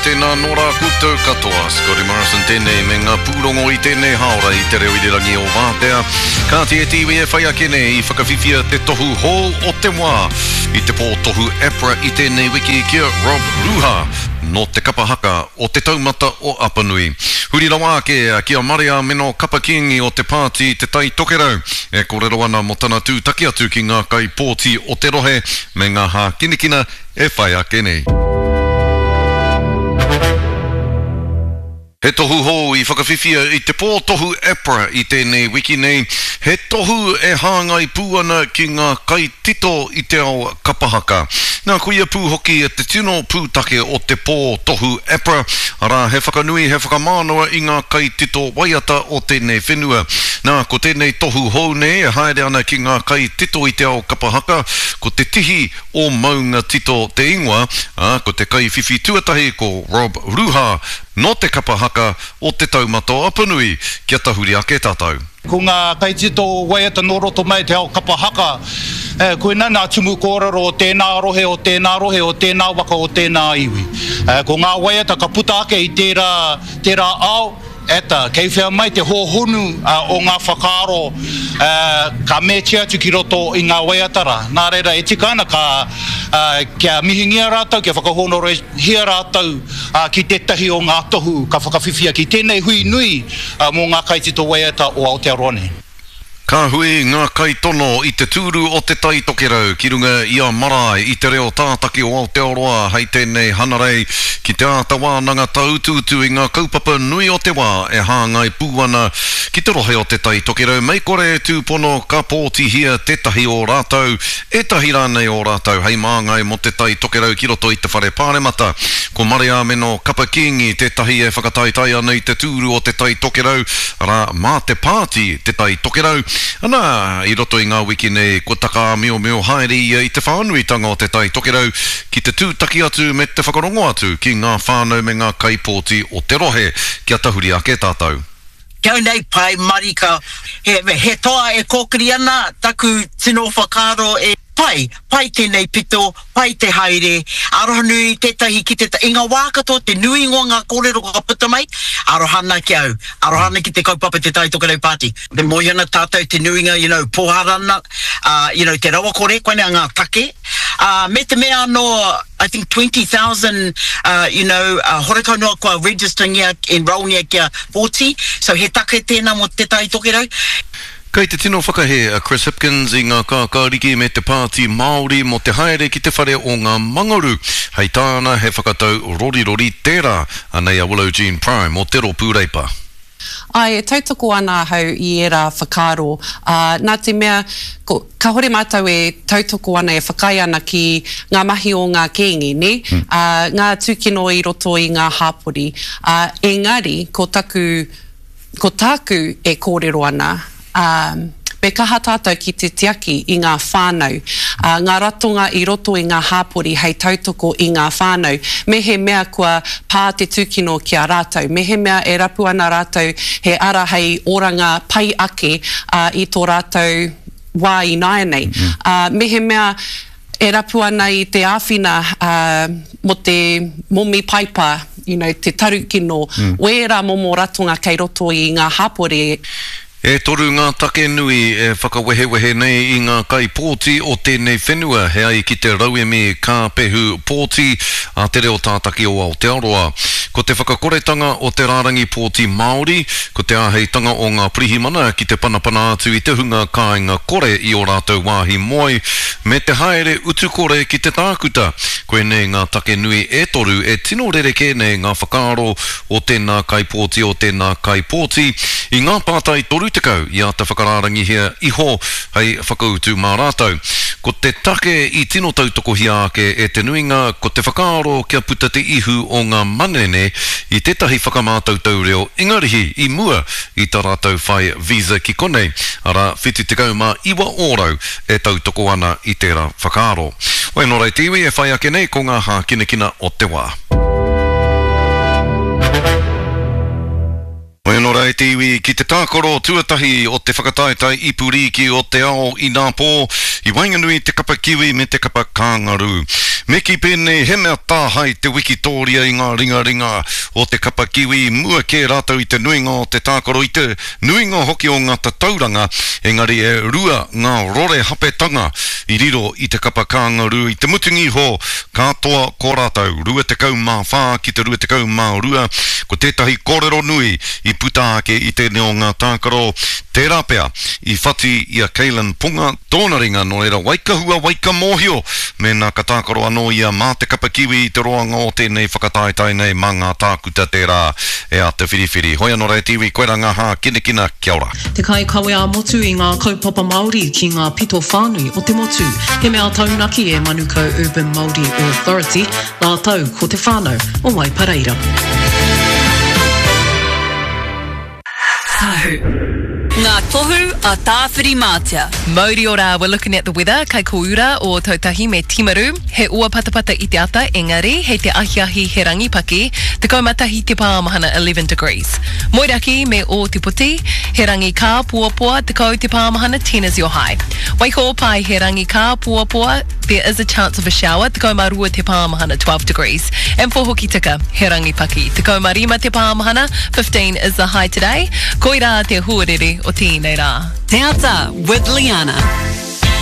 tēnā anō rā koutou katoa. Scotty Morrison tēnei me ngā pūrongo i tēnei hāora i te reo irirangi o Wātea. Kāti e te iwi e whai ake nei i whakawhiwhia te tohu hou o te wā i te pō tohu APRA i tēnei wiki ki a Rob Ruha nō te kapa haka o Te Taumata o Apanui. Huri rawa ake ki a Mariameno Kapa Kingi o te pāti Te Tai Tokerau e kōrero ana mō tana tūtaki atu ki ngā kaipōti o te rohe me ngā hākinakina e whai ake nei. He tohu hou i whakawhiwhia i te pō tohu APRA i tēnei wiki nei, he tohu e hāngai pū ana ki ngā kaitito i te ao kapa haka. Nā koia pū hoki te tino pūtake o te pō tohu APRA, arā he whakanui, he whakamānawa i ngā kaitito waiata o tēnei whenua. Nā, ko tēnei tohu hou nei e haere ana ki ngā kaitito i te ao kapa haka, ko te tihi o Maunga Tito te ingoa, ā, ko te kaiwhiwhi tuatahi ko Rob Ruha nō te kapa haka o Te Taumata o Apanui. Kia tahuri ake tātou. Ko ngā kaitito waiata nō roto mai te ao kapa haka, koinā ngā tumu kōrero o tēnā rohe, o tēnā rohe, o tēnā waka, o tēnā iwi. Ko ngā waiata ka puta ake i tērā, tērā ao, Eta, kei whea mai te hōhonu o ngā whakaaro ka mētia atu ki roto i ngā waiata rā. Nā reira, e tika ana ka, kia mihingia rātou, kia whakahōnorehia rātou ki tētahi o ngā tohu ka whakawhiwhia ki tēnei hui nui mō ngā kaitito waiata o Aotearoa nei. Ka hui ngā kaitono i te tūru o Te Tai Tokerau ki runga i a Marae i te reo tātaki o Aotearoa hei tēnei Hanarei ki te āta wānanga tāutuutu i ngā kaupapa nui o te wā e hāngai pū ana ki te rohe o Te Tai Tokerau mei kore e tūpono ka pōtihia tētahi o rātou, ētahi rānei o rātou hei māngai mō Te Tai Tokerau ki roto i te Whare Pāremata. Ko Mariāmeno Kapa Kīngi tētahi e whakataetae ana i te tūru o Te Tai Tokerau, arā, mā te pāti Te Tai Tokerau, ana, i roto i ngā wiki nei, kua takaāmiomio haere ia i te whānuitanga o Te Tai Tokerau ki te tūtaki atu me te whakarongo atu ki ngā whānau me ngā kaipōti o te rohe. Kia tahuri ake tātou. Ki au nei, pai marika, he, he toa e kōkiri ana taku tino whakaaro e. Pai, pai tēnei pito, pai te haere, arohanui tētahi ki te, i ngā wā katoa te nuinga o ngā kōrero ka puta mai, aroha ana ki au, aroha ana ki te kaupapa Te Tai Tokerau Party. E moe ana tātou te nuinga, you know, pōhara ana, uh, you know, te rawakore, koinei ngā take. Uh, me te mea anō, I think 20,000, uh, you know, uh, horekau noa kua register-ngia, enrol-ngia kia 40, so he take tēnā mō Te Tai Tokerau. Kei te tino whakahē a Chris Hipkins i ngā kākāriki me te Pāti Māori mō te haere ki te whare o ngā Mangaru. Hei tāna he whakatau rorirori tērā. Anei a Willow Jean Prime o te Rōpū Reipa. Āe, e tautoko ana ahau i ērā whakaaro, ā, nā te mea, ko, kāhore mātou e tautoko ana, e whakaae ana ki ngā mahi o ngā kēnge, nē, ā, ngā tūkino i roto i ngā hāpori. Ā, engari, ko taku Ko tāku e kōrero ana, ā, me kaha tātou ki te tiaki i ngā whānau, ā, ngā ratonga i roto i ngā hāpori hei tautoko i ngā whānau, mehemea kua pā te tūkino ki a rātou, mehemea e rapu ana rātou he ara hei oranga pai ake, ā, i tō rātou wā ināianei. Ā, mehemea e rapu ana i te āwhina mō te momi paipa, you know, te tarukino, wērā momo ratonga kei roto i ngā hapori. E toru ngā take nui e whakawehewehe nei i ngā kaipōti o tēnei whenua he ai ki te rauemi kāpehu pōti a Te Reo Tātaki o Aotearoa. Ko te whakakoretanga o te rārangi pōti Māori, ko te āheitanga o ngā pirihimana ki te panapana atu i te hunga kāinga kore i ō rātou wāhi moe, me te haere utu kore ki te tākuta. Koinei ngā take nui e toru e tino rerekē nei ngā whakaaro o tēnā kaipōti o tēnā kaipōti i ngā pātai 30 i āta whakarārangihia iho hei whakautu mā rātou. Ko te take i tino tautokohia ake e te nuinga ko te whakaaro kia puta te ihu o ngā manene i tētahi whakamātautau reo Ingarihi i mua i tā rātou whai visa ki konei, arā, 79 ōrau e tautoko ana i tērā whakaaro. Wai nō reira te iwi e whai ake nei ko ngā hākinakina o te wā. Wai nō reira. te iwi ki te tākaro tuatahi o te whakataetae ipu rīki o te ao inapō i waenganui i te kapa Kiwi me te kapa Kāngarū. Me kī pēnei he mea tāhae te wikitōria i ngā ringaringa o te kapa Kiwi, mua kē rātou i te nuinga o te tākaro i te nuinga hoki o ngā tatauranga, engari e rua ngā rore hapetanga i riro i te kapa Kāngarū i te mutunga iho Ka toa ko rātou, 24 ki te 22, ko tētahi kōrero nui i puta ake i tēnei o ngā tākaro, tērā pea i whati i a Kalyn Ponga tōna ringa, nō reira waikahua waikamōhio mēnā ka tākaro anō ia mā te kapa Kiwi i te roanga o tēnei whakataetae nei mā ngā tākuta tērā e āta whiriwhiri. Hoi anō rā e te iwi, koirā ngā hākinakina, kia ora. Te kaikawe ā-motu i ngā kaupapa Māori ki ngā pito whānui o te motu. He mea taunaki e Manukau Urban Māori Authority rātou ko te whānau o Waipareira. Tahu. Ngā tohu a Tāwhirimātea. Mauri ora, we're looking at the weather, kai Koura o Tautahi me Timaru. He ua patapata i te ata, engari, hei te ahiahi he rangi paki, 11 te pāmahana, 11 degrees. Moeraki me Ōtepoti, he rangi kāpoapoa, 10 te pāmahana, 10 is your high. Waikōpae, he rangi kāpoapoa, there is a chance of a shower, 12 te pāmahana, 12 degrees. And for Hokitika, he rangi paki, 15 te pāmahana, 15 is the high today. Koirā te huarere o tēnei rā. Te Ata with Liana.